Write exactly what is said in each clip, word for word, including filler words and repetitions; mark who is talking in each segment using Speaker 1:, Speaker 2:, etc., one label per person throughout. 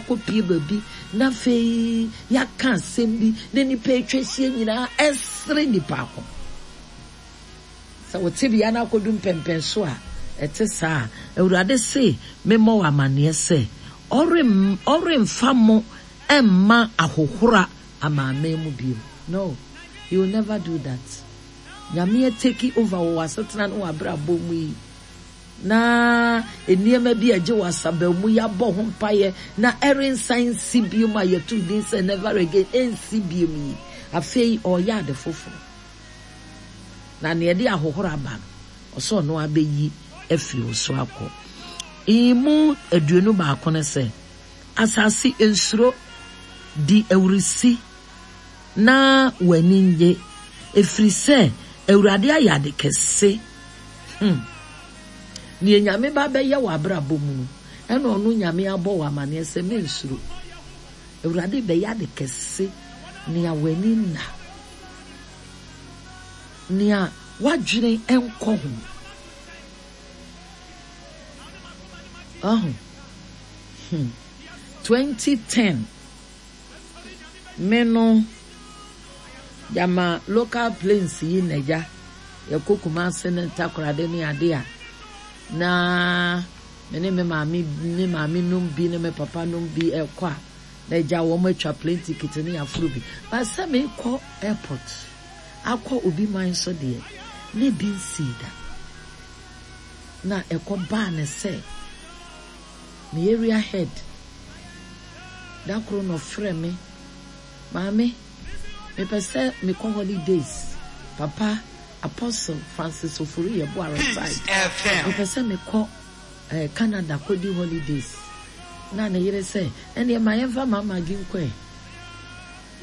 Speaker 1: Akɔpie baabi na afei yɛaka asɛm bi na nnipa atwa ahyia nyinaa ɛsere nnipa ko. Sɛ wo tebea no akɔdu mpɛmpɛn so a ɛte saa a, Awurade se memmɔ wo amanneɛ sɛ ɔremfa mo ɛmma ahohora amaaman mu bio. No, He will never do that. Nyame take over wɔ w'asetena ne w'abrabɔ mu yi na nneɛma bi a ɛgye w'asaba mu yɛabɔ ho mpaeɛ na ɛrensan nsi bio mu a yɛto din sɛ never again, ɛnsi bio mu yi, afei ɔreyɛ ade foforɔ na nea ɛde ahohora aba no, ɔsɛ ɔno abɛyi afiri wo so akɔ. Mu aduonu baako no sɛ, asase, nsuro, di awurisi na w'ani nye, ɛfiri sɛ Awurade ayɛ ade kɛse. hmm. Nea Nyame ba bɛyɛ wɔ abrabɔ mu no, ɛna ɔno Nyame abɔ wɔ amanneɛ sɛ mensuro, Awurade bɛyɛ ade kɛse, nea w'ani nna, nea w'adwene nkɔ ho. Ɔho hmm. twenty ten me no gyama local planes yi na gya yɛkɔ Kumase ne Ntakorade ne ade a, na me ne me maame me maame nom bi ne me papa nom bi ɛkɔ a, na agya wɔn atwa plane ticket ne aforo bi ba sɛ mekɔ airport akɔ obi man so deɛ, ne bi nsii da. Na ɛkɔ baa ne sɛ me area head da koro na ɔfrɛ me, "Maame, mepɛ sɛ mekɔ holidays." Papa Apostle Francis Ofori Yeboah retired. "Mepɛ sɛ mekɔ eh, Canada kɔdi holidays." Na ne yere sɛ, "Ɛneɛ ma yɛmfa Mama gi nkɔ ɛ."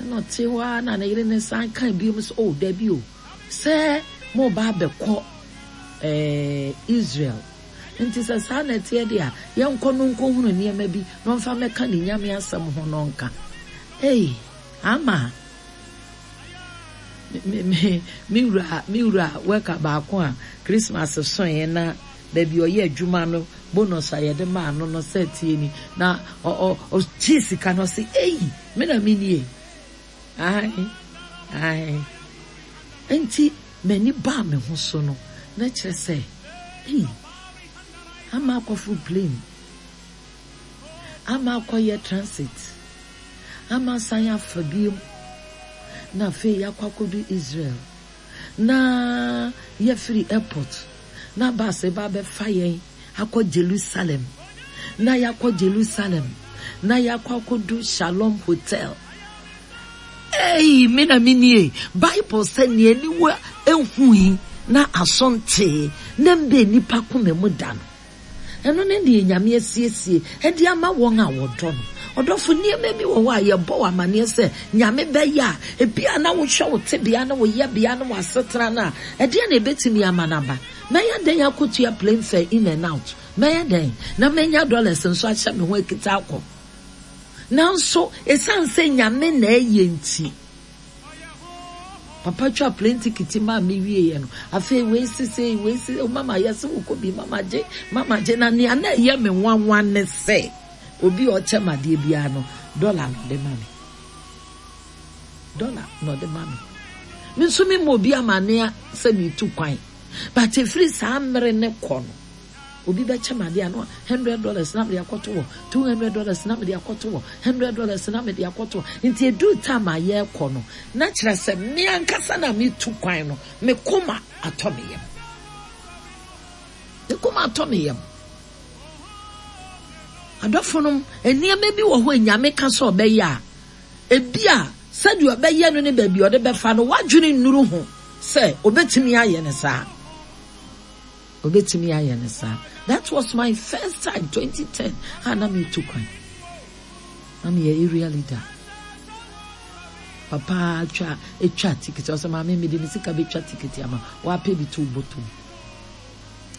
Speaker 1: Ɛna ɔte hɔ a, na ne yere ne san ka biom sɛ, "Oh, dabi o, sɛ mo ba abɛkɔ eh, Israel nti sɛ saa na ɛteɛ deɛ a, yɛnkɔ no nkɔhunu nneɛma bi na ɔmfa mɛka ne Nyame asɛm ho." No nka ei, ama me me me wura me wura wɛka baako a Christmas soeɛ na baabi ɔyɛ adwuma no, bonus a yɛde maa no no sɛ tie ni na ɔ ɔ ɔgye sika no, ɔsɛ, "Ei, me na me nie." Ae ae, nti m'ani baa me ho so no, na kyerɛ sɛ ei, ama akɔforo plane, ama akɔyɛ transit, ama asan afa biom, na afei yɛakɔ akɔdu Israel na yɛfiri airport na bus ba bɛfa yɛn akɔ Jerusalem, na yɛakɔ Jerusalem na yɛakɔ akɔdu Shalom Hotel. Ei, me na me nie. Bible sɛ nea aniwa ehui na aso ntee na mbe nipa koma mu da no, ɛno ne deɛ Nyame asiesie ɛde ama wɔn a wɔdɔ no. Ɔdɔfo, nneɛma bi wɔ hɔ a yɛbɔ wɔ amanneɛ sɛ Nyame bɛyɛ a, ebi a na wohwɛ wo tebea ne wo yɛbea ne w'asetena no a, ɛdeɛ na ebɛtumi ama no aba? Mɛyɛ dɛn akɔtua plane fare in and out? Mɛyɛ dɛn na mɛnya dollars nso ahyɛ me ho akita akɔ? Nanso ɛsiane sɛ Nyame na ɛyɛ nti, papa twa plane ticket maa me wieɛ no, afei wei sese wei sese, "Oh, mama, yɛsɛ wokɔ bi, mama gye, mama gye." Na nea na ɛyɛ me nwanwa ne sɛ obi a ɔkyɛ ma adeɛ biara no, dollar na ɔde ma me, dollar na ɔde ma me. Me nso mi ma obi amanneɛ sɛ metu kwan, but efiri saa mmere ne kɔ no, obi bɛkyɛ ma adeɛ ano hundred dollars na mede akɔto wɔ, two hundred dollars na mede akɔto wɔ, hundred dollars na mede akɔto wɔ. Nti edu time a yɛrekɔ no, na kyerɛ sɛ me ankasa na metu kwan no, me koma atɔ me yam, me koma atɔ me yam. Adɔfo nom, nneɛma bi wɔ hɔ a Nyame ka sɛ ɔbɛyɛ a, ebi a sɛdeɛ ɔbɛyɛ no ne baabi a ɔde bɛfa no, wadwene nnuru ho sɛ obɛtumi ayɛ no saa, obɛtumi ayɛ no saa. That was my first time, twenty ten a na metu kwan na meyɛ area leader. Papa twa etwa ticket, ɔsɛ, "Maame, mede me sika bɛtwa ticket ama wapɛ bi to bɔtɔ."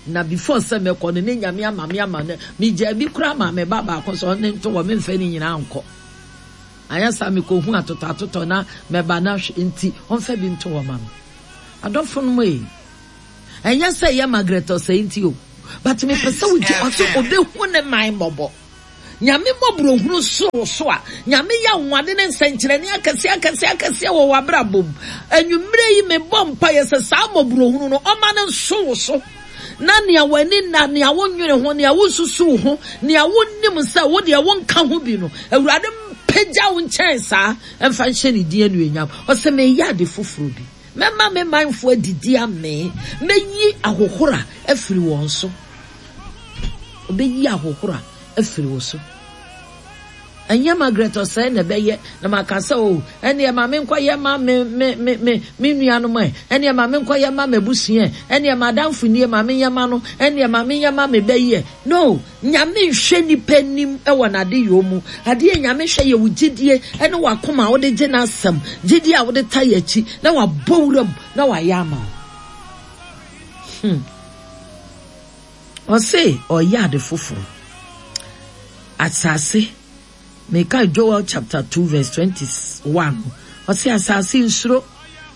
Speaker 1: Na before sɛ mɛkɔ no, ne Nyame ama me ama no, megyaa bi koraa ma me ba baako sɛ ɔne nto wɔ, memfɛ ne nyinaa nkɔ, anyɛ saa mekɔhu atotɔ atotɔ na mɛba na hwɛ nti ɔmfa bi nto wɔ ma me. Adɔfo no mu yi, ɛnyɛ sɛ ɛyɛ Margaret Ɔsɛe nti o, but mepɛ sɛ wogye ɔsɛ ɔbɛhu ne man mmɔbɔ. Nyame mmɔborɔhunu so wo so a, Nyame yɛ anwonwade ne nsɛnkyerɛnne akɛseɛ akɛseɛ akɛseɛ wɔ w'abrabɔ mu. Anwummerɛ yi mebɔ mpaeɛ sɛ saa mmɔborɔhunu no ɔma no nso wo so. Na nea w'ani nna, nea wonnwene ho, nea wonsusuw ho, nea wonnim sɛ wo deɛ wonka ho bi no, Awurade mpagya wo nkyɛn saa mfa nhyɛ ne din anuonyam. Ɔse meyɛ ade foforɔ bi. Mɛma me manfoɔ adidi amee. Mɛyi ahohora afiri wɔn so. Ɔbɛyi ahohora afiri wo so. Ɛnyɛ Margaret Osei na ɛbɛyɛ na maka sɛ o, ɛneɛ ma menkɔyɛ ma me me me me me nuanom ɛ, ɛneɛ ma menkɔyɛ ma m'abusua ɛ, ɛneɛ m'adamfo nie ma menyɛ ma no, ɛneɛ ma menyɛ ma me ba yi ɛ. No, Nyame nhwɛ nipa anim wɔ n'adeyɔ mu. Adeɛ a Nyame hwɛ yɛ wo gyidie ne w'akoma a wode gye n'asɛm, gyidie a wode tae akyi na wabɔ wuram na wayɛ ama wo. Hmm. Ɔse ɔyɛ ade foforo. Asase, meka Joel chapter two verse twenty one no, ɔse asase nsuro,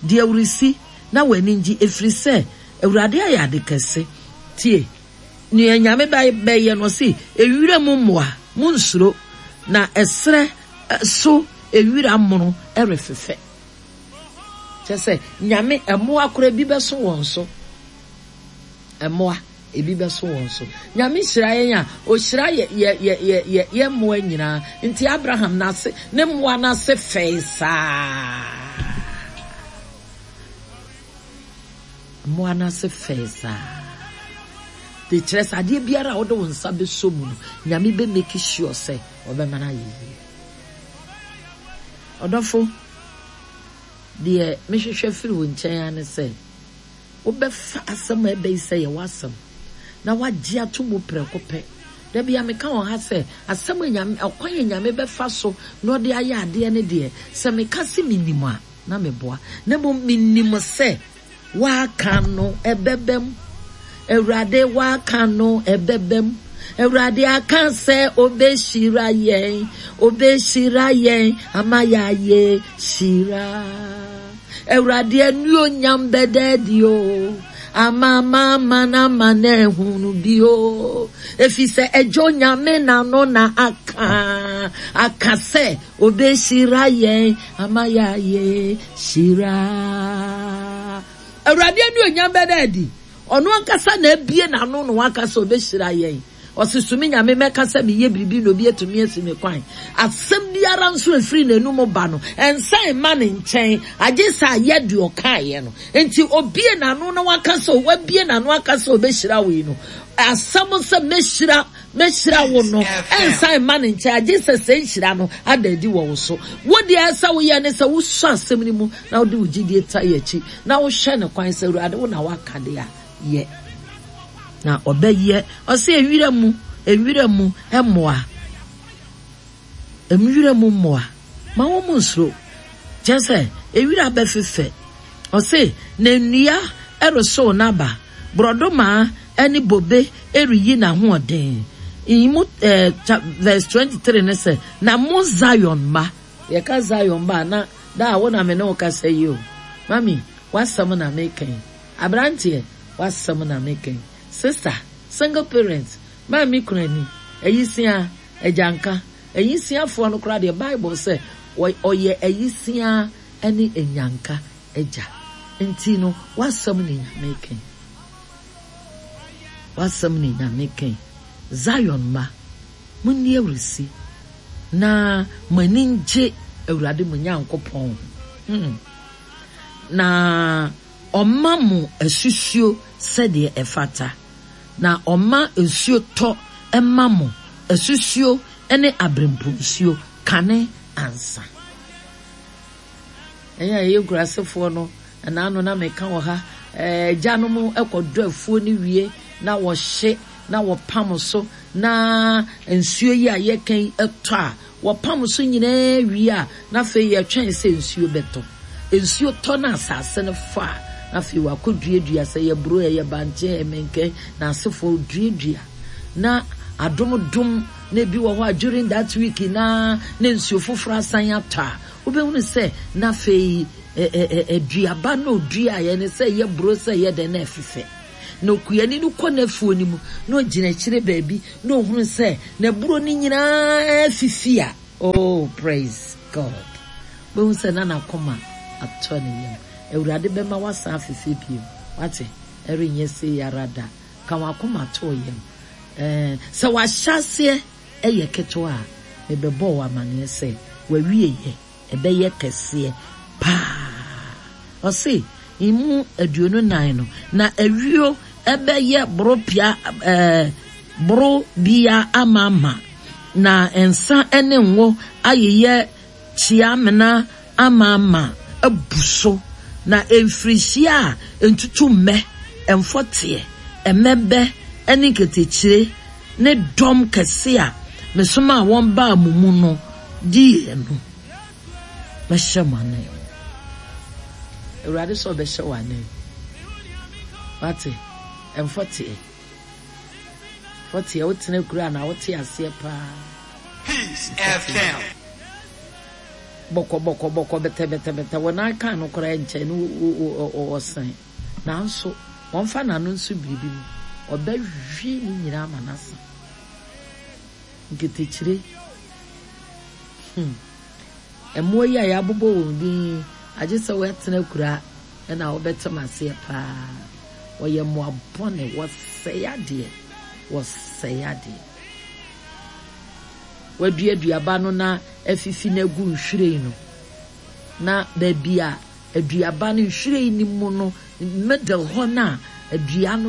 Speaker 1: di awurisi na w'ani ngye, efiri sɛ Awurade ayɛ ade kɛse. Tie, nea Nyame bɛyɛ no, ɔse ewira mu mmoa, monnsuro, na ɛserɛ so ewira mono refefɛ. Kyerɛ sɛ, Nyame mmoa koraa bi bɛso wɔn so. Mmoa, ebi bɛso wɔn so. Nyame hyira yɛn a, ohyira yɛ yɛ yɛ yɛ yɛ yɛ mmoa nyinaa. Nti Abraham n'ase ne mmoa n'ase fɛe saa. Mmoa n'ase fɛe saa. De kyerɛ sɛ adeɛ biara a wode wo nsa bɛsɔ mu no, Nyame bɛ make sure sɛ ɔbɛma no ayɛ yie. Ɔdɔfo, deɛ mehwehwɛ firi wo nkyɛn ara ne sɛ, wobɛfa asɛm a ɛbɛ yi sɛ yɛ w'asɛm na woagye ato mu prɛko pɛ. Da biara meka wɔ ha sɛ, asɛm a Nyame, ɔkwan a Nyame bɛfa so na ɔde ayɛ adeɛ no deɛ, sɛ meka se menim a, na meboa. Na mmom menim sɛ w'aka no ɛbɛba mu. Awurade w'aka no ɛbɛba mu. Awurade aka sɛ obehyira yɛn, obehyira yɛn ama yɛayɛ hyira. Awurade anuonyam bɛda adi o, ama amanaman ama no ahunu bi o. Efisɛ Agya Onyame n'ano na aka, aka sɛ obehyira yɛn ama yɛayɛ hyira. Awurade anuonyam bɛda adi. Ɔno ankasa na abue n'ano na waka sɛ obehyira yɛn. Ɔse, So me Nyame mɛka sɛ meyɛ biribi na obi atumi asi me kwan? Asɛm biara nso a ɛfiri n'anum ba no, ɛnsan mma ne nkyɛn, agye sɛ ayɛ deɛ ɔkaeɛ no. Enti obue n'ano na waka sɛ, wabue n'ano aka sɛ ɔbɛhyira wo yi no, asɛm sɛ mɛhyira, mɛhyira wo no, ɛnsan mma ne nkyɛn, agye sɛ sɛ nhyira no ada adi wɔ wo so. Wo deɛ ɛsɛ woyɛ ne sɛ wosɔ asɛm no mu na wode wo gyidie tae akyi, na wohwɛ no kwan sɛ, Awurade, wo na woaka deɛ a, yɛ. Na ɔbɛyɛ. Ɔse nwira mu, nwira mu mmoa, nwira mu mmoa, ma wɔn nsuro. Kyerɛ sɛ, nwira bɛfefɛ. Ɔse na nnua resow n'aba, borɔdɔma ne bobe reyi n'ahoɔden. Mu eh, verse twenty three ne sɛ, na mo Zion mma, yɛka Zion mma a, na da a wo na me ne wo kasa yi o, mami, w'asɛm na meka yi. Abranteɛ, w'asɛm na meka yi. Sister, single parent, maame kunani, ayisiaa, agyanka. Ayisiafoɔ no koraa deɛ Bible sɛ ɔyɛ ayisiaa ne anyanka agya. Nti no, w'asɛm na Nyame reka yi. W'asɛm na Nyame reka yi. Zion mma, monni awurisi na mo ani ngye Awurade mo Nyankopɔn ho. Hmm. Na ɔma mo asusuo sɛdeɛ ɛfata, na ɔma nsuo tɔ ma mo, asusuo ne aberempɔnsuo, kane ansa. Ɛyɛ a yɛyɛ nkurasefoɔ no, ɛna ano na meka wɔ ha, agyanom kɔdɔ afuo no wie na wɔhye na wɔpam so, na nsuo yi a yɛka yi tɔ a, Wɔpam so nyinaa wie a, na afei yɛtwɛn sɛ nsuo bɛtɔ. Nsuo tɔ na asase no fɔ a, na afei wɔakɔduadua, sɛ ɛyɛ aburo, ɛyɛ bankye, ɛyɛ mankɛn, na asefoɔ duadua. Na adom dom na ebi wɔ hɔ a during that week na na nsuo foforɔ asan atɔ a, wobɛhunu sɛ na afei aduaba na ɔduaeɛ no sɛ ɛyɛ aburo sɛ ɛyɛ dɛn na ɛfefɛ. Na okuani no kɔ n'afuo no mu na ɔgyina akyire baabi na ɔhunu sɛ n'aburo no nyinaa afifi a, oh praise God. Wobɛhu sɛ na n'akoma atɔ ne yam. Awurade bɛma woasan afefɛ bio. Wate? Ɛrenyɛ sei ara da. Ka w'akoma to wo yam. Ɛɛ, sɛ w'ahyɛaseɛ yɛ ketewa a, mebɛbɔ wo amaneɛ sɛ w'awieɛ ɛbɛyɛ kɛseɛ paa. Ɔse, emu aduonu nan no, na ayuo ɛbɛyɛ boro pia, ɛɛ, boro bia amaama, na nsa ne ngo ayeyɛ kyeamena amaama abu so, na mfirihyia a ntutummɛ, mfɔteɛ, mmɛbɛ ne nketekyire ne dɔm kɛse a mesomaa wɔn baa mo mu no diiɛ no, mɛhyɛ mo anan mu. Awurade sɛ ɔbɛhyɛ wo anan mu. Wate? Mfɔteɛ. Mfɔteɛ, wotena kuro a na wote aseɛ paa.
Speaker 2: Peace F M.
Speaker 1: Bɔkɔ, bɔkɔ, bɔkɔ, bɛtɛ, bɛtɛ, bɛtɛ. Wɔn nan kan no koraa nkyɛn no ɔsɛn. Nanso, wɔmfa n'ano nso biribi mu. Ɔbɛhwie ne nyinaa ama n'asa. Nketekyire. Hmm. Mmoa yi a yɛabobɔ wɔn din yi, agye sɛ woatena kura na wobɛtem aseɛ paa. Wɔyɛ mmoa bɔne, wɔsɛe adeɛ, wɔsɛe adeɛ. Wɔadua aduaba no na afifi no agu nhwiren no. Na baabi a aduaba no nhwiren no mu no, middle hɔ no a adua no